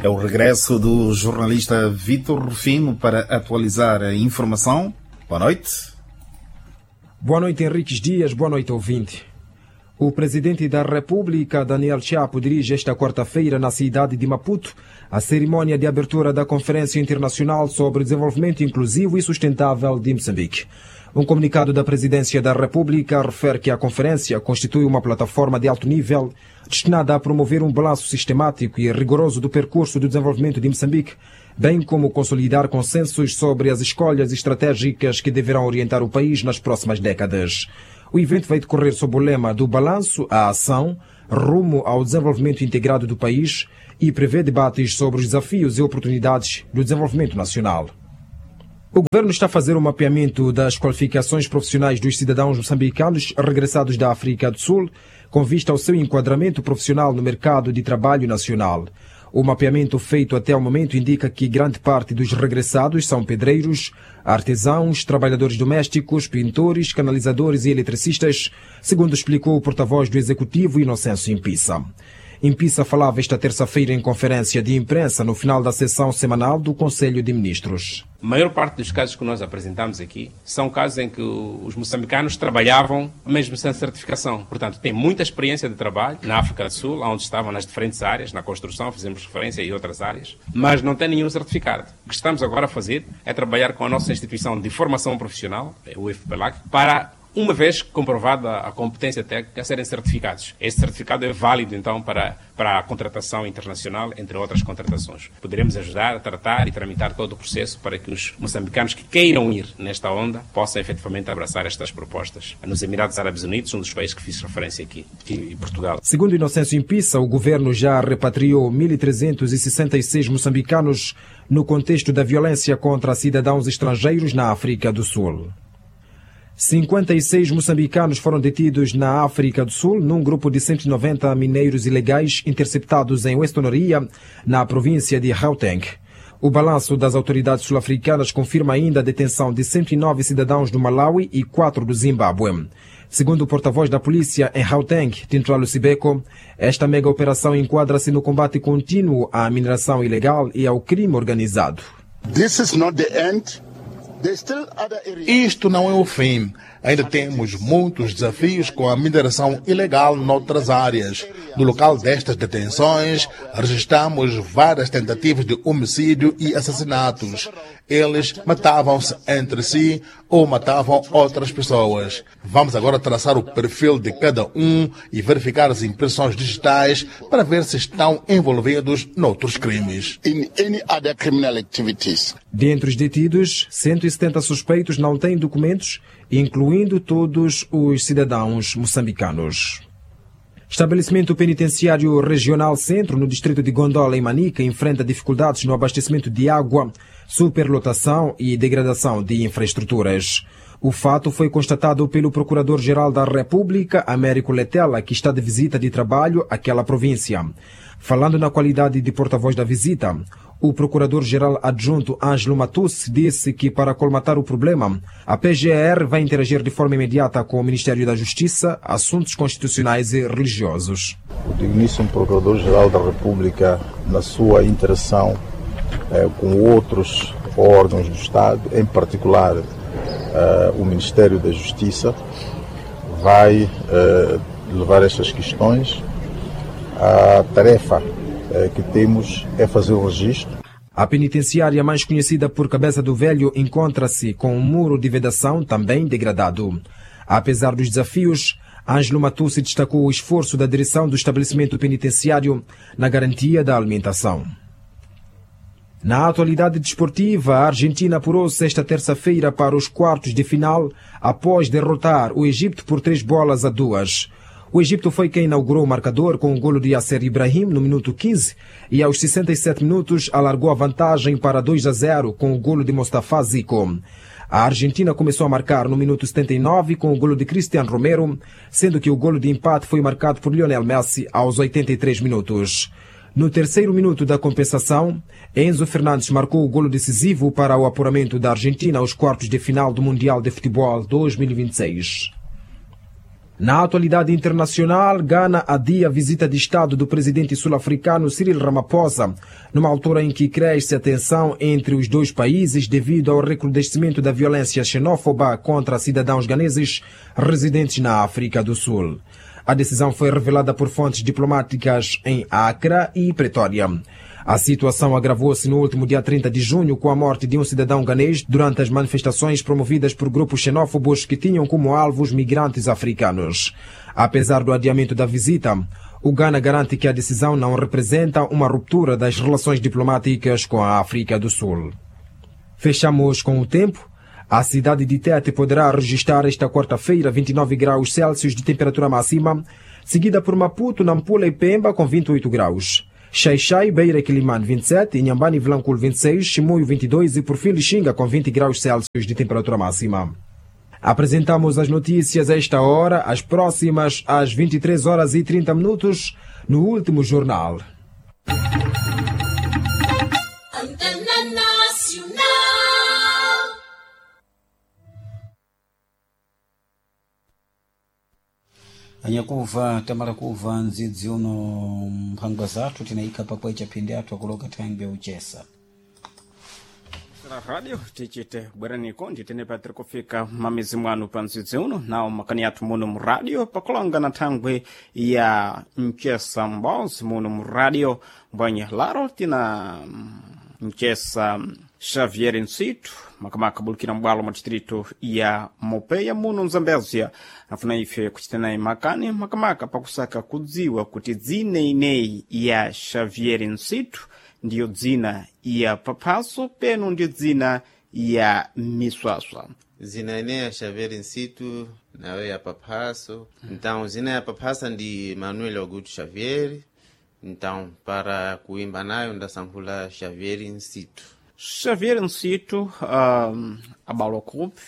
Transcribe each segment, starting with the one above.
É o regresso do jornalista Vitor Rufino para atualizar a informação. Boa noite. Boa noite, Henriques Dias. Boa noite, ouvinte. O presidente da República, Daniel Chapo, dirige esta quarta-feira na cidade de Maputo a cerimônia de abertura da Conferência Internacional sobre Desenvolvimento Inclusivo e Sustentável de Moçambique. Um comunicado da Presidência da República refere que a conferência constitui uma plataforma de alto nível destinada a promover um balanço sistemático e rigoroso do percurso do desenvolvimento de Moçambique, bem como consolidar consensos sobre as escolhas estratégicas que deverão orientar o país nas próximas décadas. O evento vai decorrer sob o lema do balanço à ação, rumo ao desenvolvimento integrado do país e prevê debates sobre os desafios e oportunidades do desenvolvimento nacional. O governo está a fazer um mapeamento das qualificações profissionais dos cidadãos moçambicanos regressados da África do Sul, com vista ao seu enquadramento profissional no mercado de trabalho nacional. O mapeamento feito até o momento indica que grande parte dos regressados são pedreiros, artesãos, trabalhadores domésticos, pintores, canalizadores e eletricistas, segundo explicou o porta-voz do Executivo Inocêncio Impissa. Impissa falava esta terça-feira em conferência de imprensa no final da sessão semanal do Conselho de Ministros. A maior parte dos casos que nós apresentamos aqui são casos em que os moçambicanos trabalhavam mesmo sem certificação. Portanto, têm muita experiência de trabalho na África do Sul, onde estavam nas diferentes áreas, na construção, fizemos referência e outras áreas, mas não têm nenhum certificado. O que estamos agora a fazer é trabalhar com a nossa instituição de formação profissional, o FPLAC, para, uma vez comprovada a competência técnica, serem certificados. Este certificado é válido, então, para a contratação internacional, entre outras contratações. Poderemos ajudar a tratar e tramitar todo o processo para que os moçambicanos que queiram ir nesta onda possam efetivamente abraçar estas propostas. Nos Emirados Árabes Unidos, um dos países que fiz referência aqui, e Portugal. Segundo Inocêncio Impissa, o governo já repatriou 1.366 moçambicanos no contexto da violência contra cidadãos estrangeiros na África do Sul. 56 moçambicanos foram detidos na África do Sul num grupo de 190 mineiros ilegais interceptados em Westonaria, na província de Gauteng. O balanço das autoridades sul-africanas confirma ainda a detenção de 109 cidadãos do Malawi e 4 do Zimbábue. Segundo o porta-voz da polícia em Gauteng, Tintualo Sibeko, esta mega operação enquadra-se no combate contínuo à mineração ilegal e ao crime organizado. This is not the end. Isto não é o fim. Ainda temos muitos desafios com a mineração ilegal noutras áreas. No local destas detenções, registramos várias tentativas de homicídio e assassinatos. Eles matavam-se entre si ou matavam outras pessoas. Vamos agora traçar o perfil de cada um e verificar as impressões digitais para ver se estão envolvidos noutros crimes. In any other criminal activities. Dentre os detidos, 170 suspeitos não têm documentos, incluindo todos os cidadãos moçambicanos. Estabelecimento Penitenciário Regional Centro, no distrito de Gondola, em Manica, enfrenta dificuldades no abastecimento de água, superlotação e degradação de infraestruturas. O fato foi constatado pelo Procurador-Geral da República, Américo Letela, que está de visita de trabalho àquela província. Falando na qualidade de porta-voz da visita, o Procurador-Geral Adjunto Ângelo Matusse disse que, para colmatar o problema, a PGR vai interagir de forma imediata com o Ministério da Justiça, Assuntos Constitucionais e Religiosos. O digníssimo Procurador-Geral da República, na sua interação com outros órgãos do Estado, em particular o Ministério da Justiça, vai levar estas questões. A tarefa que temos é fazer o registro. A penitenciária mais conhecida por Cabeça do Velho encontra-se com um muro de vedação também degradado. Apesar dos desafios, Ângelo Matusse destacou o esforço da direção do estabelecimento penitenciário na garantia da alimentação. Na atualidade desportiva, a Argentina apurou-se esta terça-feira para os quartos de final após derrotar o Egito por 3-2. O Egito foi quem inaugurou o marcador com o golo de Yasser Ibrahim no minuto 15 e aos 67 minutos alargou a vantagem para 2-0 com o golo de Mostafa Zico. A Argentina começou a marcar no minuto 79 com o golo de Cristian Romero, sendo que o golo de empate foi marcado por Lionel Messi aos 83 minutos. No terceiro minuto da compensação, Enzo Fernandes marcou o golo decisivo para o apuramento da Argentina aos quartos de final do Mundial de Futebol 2026. Na atualidade internacional, Gana adia a visita de Estado do presidente sul-africano Cyril Ramaphosa, numa altura em que cresce a tensão entre os dois países devido ao recrudescimento da violência xenófoba contra cidadãos ganeses residentes na África do Sul. A decisão foi revelada por fontes diplomáticas em Accra e Pretória. A situação agravou-se no último dia 30 de junho com a morte de um cidadão ganês durante as manifestações promovidas por grupos xenófobos que tinham como alvo os migrantes africanos. Apesar do adiamento da visita, o Ghana garante que a decisão não representa uma ruptura das relações diplomáticas com a África do Sul. Fechamos com o tempo. A cidade de Tete poderá registrar esta quarta-feira 29 graus Celsius de temperatura máxima, seguida por Maputo, Nampula e Pemba com 28 graus. Xaixai, Beira e Quilimane 27, Inhambane e Vilanculo 26, Chimoio 22 e por fim Lixinga com 20 graus Celsius de temperatura máxima. Apresentamos as notícias a esta hora, as próximas às 23 horas e 30 minutos, no último jornal. Antena Nacional. Anyakuva tamara kuva ndzidzi uno mphangwa zathu tinayikha pakwecha phindi athu akuloka thangwi uchesa La radio tichite bweraniko nditene patiri kufika mamizi mwanu pa ndzidzi uno nawo makani athu muno mu radio pakulonga na thangwi ya mchesa mbozi muno mu radio mbwenye laro tina mchesa Xavier Nsitu makamaka bulukira mbwalo mwa distrito ya Mopeya muno Mzambezia nafuna ife kuchita naye makani makamaka pakusaka kudziwa kuti dzina ineyi ya Xavier Nsitu ndiyo dzina ya paphaso peno ndiyo dzina ya miswaswa. Zina ine ya Xavier Nsitu nawe ya paphaso. Então zina ya paphasa ndi Manuel Augusto Xavier. Então para kuimba nayo ndasankhula Xavier Nsitu. Xavier Nsitu abalo kupi?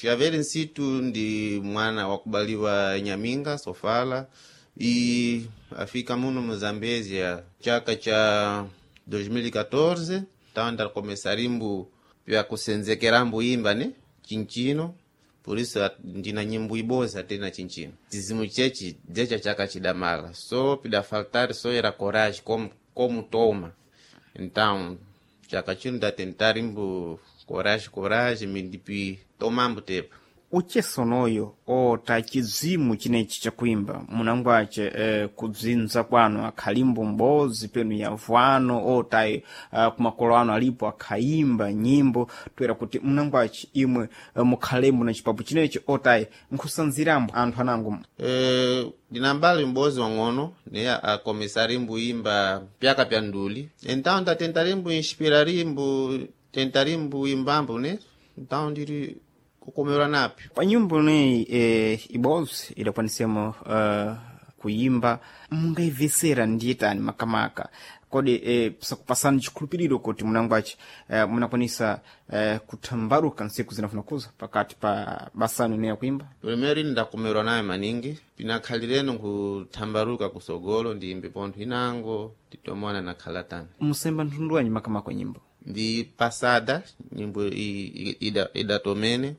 Xavier Nsitu ndi mwana wakubaliwa Nyaminga Sofala e afika muno mu Zambezia chaka cha 2014. Então ndakomesarimbu pya kusenzekerambu imba ne chinchino, por isso ndina nyimbo iboza tena chinchino chizimu chechi dzecha chaka chidamala so pidafaltar so era coragem como toma. Então chaka chino ndatentarimbu coragem coragem mindipi tomambu tepa. Uchesonoyo ota chizimu chinechi chakuimba munangwache kudzinza kwanu akhalimbo mbozi penu yavwano ota kumakolo anu alipo akhaimba nyimbo toera kuti munangwache imwe mukhalembo na chipapu chinechi otayi nkhusanzirambo anthu anango. Ndinambali mbozi wang'ono ne akomesarimbu imba pyaka pya nduli, então ndatentarimbu inspirarimbu tentarimbu imbambu ne então ndiri kukomerwa napyo pa nyimbo ineyi ibozi idakwanisemo kuyimba mungaibvesera ndiyetani makamaka kodi sakupasani chikhulupiriro kuti munangwache munakwanisa kuthambaruka ntsiku zinafuna kuza pakati pa basanu ineyi yakuimba? Primeiro ini ndakomerwa nayo maningi pinakhalireno nkuthambaruka kusogolo ndiyimbe pontho inango nditomona nakhala tani. Musemba mtundu wanyi makamaka wa nyimbo? Ndi pasada nyimbo idatomene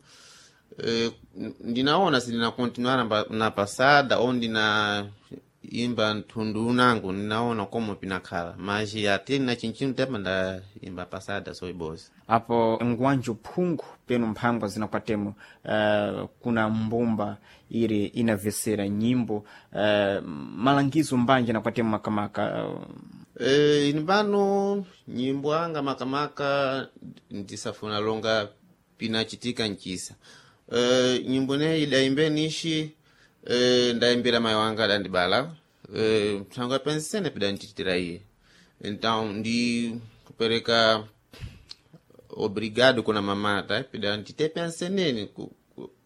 ndinaona sindinakontinuar na pasada ou ndina imba nthundu unango ndinaona como pinakhala mas ate na chinchino tepa ndaimba pasada so ibozi. Apo ngwanjo phungu penu mphangwa zinakwatemo kuna mbumba iri inavesera nyimbo malangizo mbanja nakwatemo makamaka Ini pano nyimbo anga makamaka ndisafuna longa pinachitika nchisa. Nyimbo neyi idaimbe nishi ndaimbira mayi wanga adandibala mthango apensene pidandichitira iye, então ndi kupereka obrigado kuna mamata pidandite penseneni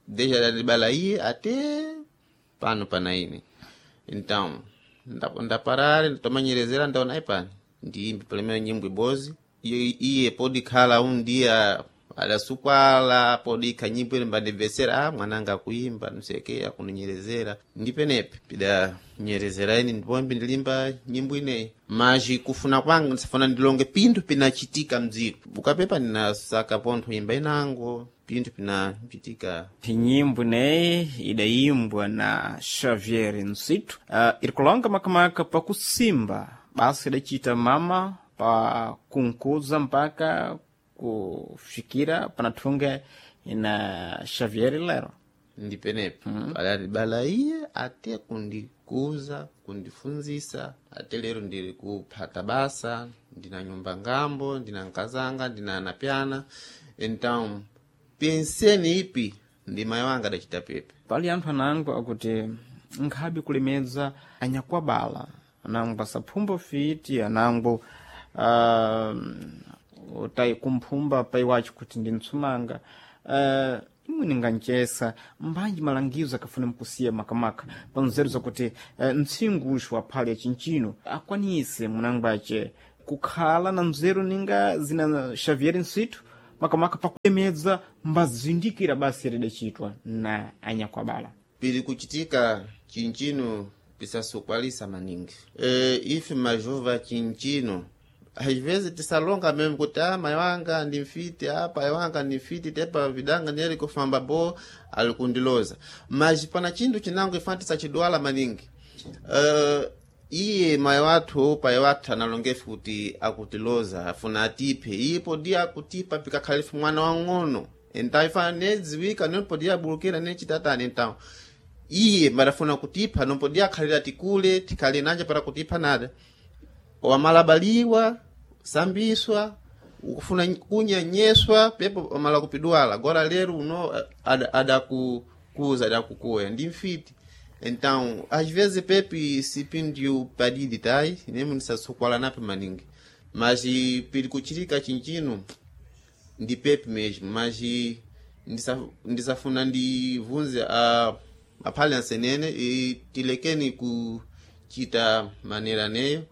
desde adandibala iye ate pano pana ine. Então ndaparare ndatomanyerezera ndaona ipani ndiimbe pamene nyimbo ibozi iye podikhala um dia adasukwala podikha nyimbo ile mbandibvesera mwananga akuimba nuseke akuninyerezera ndipenepe pidanyerezera ine ndipombi ndilimba nyimbo ineyi maji kufuna kwanga ndisafuna ndilonge pinthu pinachitika mdziko ukapepa ndinasaka pontho imba inango. pinthu pinapitika. Nyimbo ineyi idayimbwa na Xavier Nsitu, iri kulonga makamaka pakusimba basa idacita mama pa kunkuza mpaka kufikira panathunga ina Xavier lero. Ndipenepo mm. Iye ate kundikuza, kundifunzisa, ate lero ndiri kuphata basa, ndina nyumba ngambo, ndina nkazanga, ndina anapyana. Então penseni ipi ndi mayi wanga adacita pepe. Pali anthu anango akuti nkhabe kulemedza anyakwabala, anango asaphumba fiti, anango utayi kumphumba pai wacho kuti ndi mtsumanga. Imwe ninganchesa mbanji malangizo akafuna mkusiya makamaka panzeru zakuti mtsingu uxu waphale chinchino akwanise munangwace kukhala na nzeru ninga zina Xavier Nsitu makamaka pakulemedza mbazindikira basi lidacitwa na anyakwabala. Pili kuchitika chinchino pisasukwalisa maningi. Ife majova chinchino às vezes tisalonga mesmo kuti ah, mai wanga ndi mfiti, ah, pai wanga ndi mfiti, tepa vidanga ndiyali kufamba bo ali kundiloza. Mas pana chinthu chinango ifana tisachidwala maningi. Iye mai wathu pai wathu analongefe kuti akutiloza afuna atiphe, iye podi akutipa pikakhalifu mwana wang'ono, então ifana nedziwika nopodi abulukira nechitatani. Então iye marafuna kutipha nopodi akhalira tikule tikhale nanja para kutipha nada wamalabaliwa sambiswa ukufuna kunyanyeswa pepo wamala kupidwala agora lero uno adakukuza adakukuya ndi mfiti. Então às vezes pepe sipindiu padidi tai nemo ndisasukwala nape maningi, mas pili kuchilika chinchino ndi pepe mesmo. Mas ndisafuna ndivunze aphale ansenene tilekeni kuchita manera neyo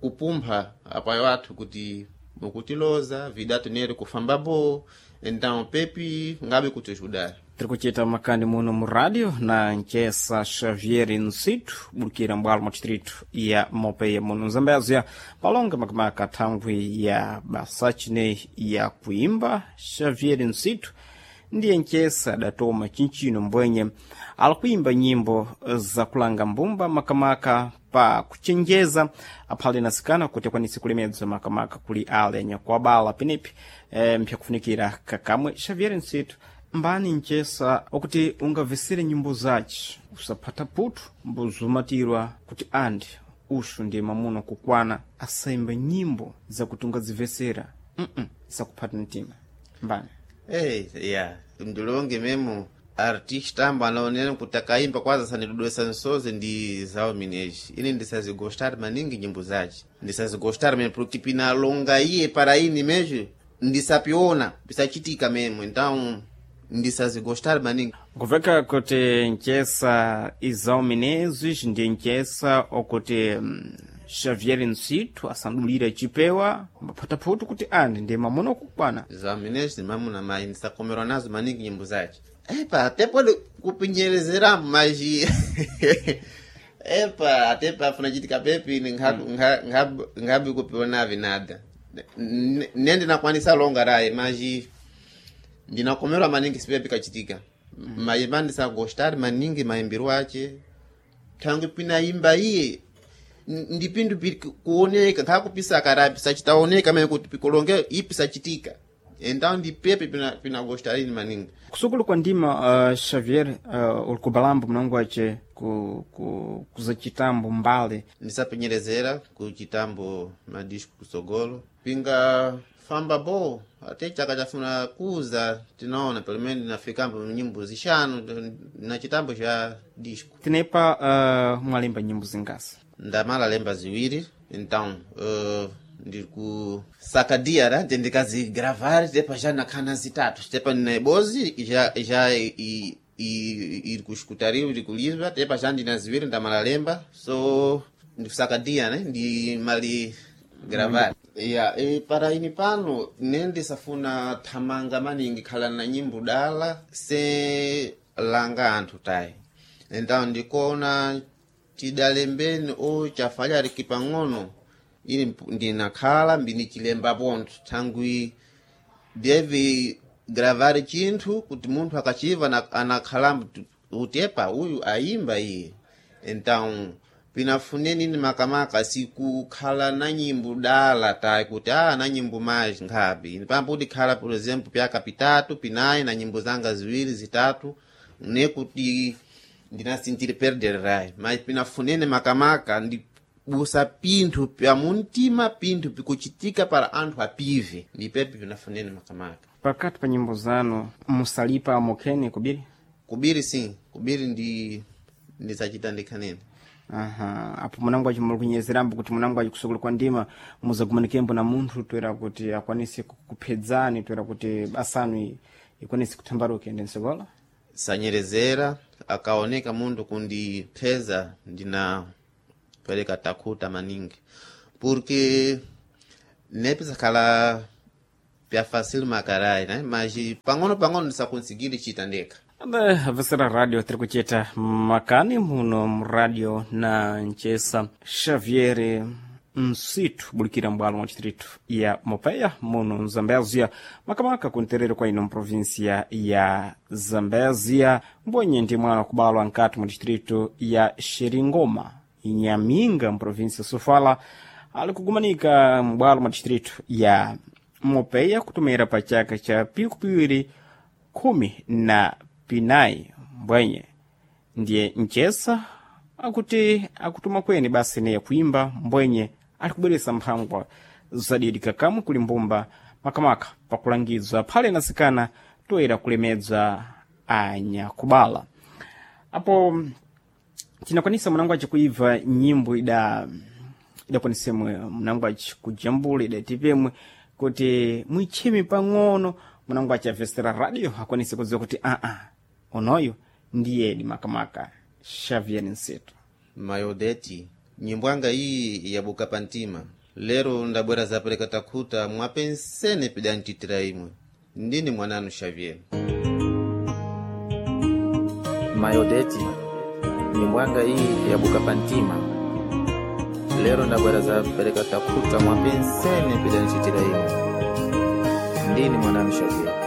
kupumpha apayo athu kuti mukutiloza vidatu nere kufamba bo. Então pepi ngabe kutijudar. Tiri kuchita makani muno mu rádio na nchesa Xavier Nsitu bulukira mbwalo mwa distrito ya Mopeia muno Zambézia palonga makamaka thangwi ya basachine ya kuimba. Xavier Nsitu ndiye nchesa adatoma chinchino mbwenye alikuimba nyimbo zakulanga mbumba makamaka pa kuchenjeza aphale nasikana kuti akwanise kulemedza makamaka kuli ale anyakuabala penepi mpyakufunikira kakamwe. Xavier Nsitu mbani nchesa okuti ungamvesere nyimbo zace usaphata putu mbuzumatirwa kuti andi uxu ndiye mamuno kukwana asaimba nyimbo zakuti ungazimvesera zakuphata mtima mbani. Hey, yeah. Ndilonge memo artista ambo anaonera kuti akaimba kwanza sanidudwesa nsozi ndi zawo mineji ine ndisazigostar maningi nyimbo zace ndisazigostar memo porque pinalonga iye para ini mesmo ndisapiona pisachitika memo, então ndisazigostar maningi. Kuveka kuti nchesa Izau Menezes ndiye nchesa okuti Xavier Nsitu asandulira chipewa mbaphataputu kuti andi ndiye mamuna okukwana. Izau Menezes ndi mamuna mayi ndisakomerwa nazo maningi nyimbo zace. Epa até pode kupinyerezeramo mas epa até pafuna chitika pepi ngabi kupionavi nada nende nakwanisa longa rayi mas ndinakomerwa maningi sipepi kachitika. Mayimba ndisagostar maningi maimbiro ache thangwi pinaimba iye ndipindu kuoneka nkhakupisa karapi sachitaoneka mene kuti pikolonge ipi sachitika, então ndipepe pinagostarini maningi. Kusukulu kwa ndima Xavier uli kubalambo mnango wace kuzachitambo mbale. Ndisapenyerezera kuchitambo madisco kusogolo pinga famba bo ate chaka chafuna kuza tinaona pelo menos nafikambo nyimbo zixanu na chitambo cha disco. Tinepa mwalemba nyimbo zingasi? Ndamala lemba ziwiri, então ndiri kusakadia ra ndikazigravar tepa já nakhana zitatu tepa ndina ibozi já iri kushukutariwa iri kulizwa tepa já ndina ziwiri ndamala lemba so ndikusakadia ne ndi mali gravar. Ya para ini pano nendisafuna thamanga maningi khala na nyimbo dala se langa anthu tayi, então ndikuona tidalembeni o chafalhariki pang'ono ili ndinakhala mbinichilemba pontho thangwi deve gravar chinthu kuti munthu akachiva anakhalamba kuti epa uyu ayimba iye. Então pinafuneni ni makamaka sikukhala na nyimbo dala tayi kuti na nyimbo mais nkhapi pambo khala por exemplo pyaka pitatu pinayi na nyimbo zanga ziwiri zitatu nekuti ndinasintire perder rai, mas pinafunene makamaka ndibusa pinthu pya muntima, pinthu pikuchitika para anthu apive, ndipepi pinafunene makamaka. Pakati pa nyimbo zanu musalipa mokheni kubiri? Kubiri sim, kubiri ndi ndisachita ndikhanene. Aha, apo munango muli kunyezerambo kuti munango achikusukulu kwa ndima muzagumanikembo na munthu toera kuti akwanise kuphedzani toera kuti basanu ikwanise kuthambaruka ende msokola? Sanyerezera akaoneka munthu kundipheza ndina pereka takhuta maningi porque nepisakhala pya facil makarai, né? Mas pang'ono pang'ono ndisakonsigire chita ndekha. Ade avesera radio tiri kuchita makani muno muradio na nchesa Xavier Nsitu bulikira mbwalo mwa distrito ya Mopeia muno mzambezia, makamaka kunterero kwa ino mprovinsia ya Zambezia, mbwenye ndi mwana kubalwa nkati mu distrito ya Xeringoma Inhaminga mprovinsia Sofala, ali kugumanika mbwalo mwa distrito ya Mopeia kutumira pa chaka cha piku piwiri khumi na pinayi. Mbwenye ndiye nchesa akuti akutuma kweni basi neye kuimba, mbwenye ali kubweresa mphangwa zadidi kakamwe kuli mbumba makamaka pakulangizwa phale nasikana toera kulemedza anyakubala. Apo tinakwanisa mwanangu aci kuibva nyimbo ida idakwanisemwe mwanangu aci kujambula idatipemwe kuti mwitchime pang'ono mwanangu aci avesera radio akwanise kudziwa kuti aa onoyo ndiyedi makamaka Xavier Nseto. Mayodeti nyimbo yanga iyi yabuka pantima lero ndabwera zapereka takhuta mwapensene pidantitira imwe ndini mwananu Xavier. Mayodeti nyimbo yanga iyi yabuka pantima lero ndabwera zapereka takhuta mwapensene pidantitira imwe ndini mwananu Xavier.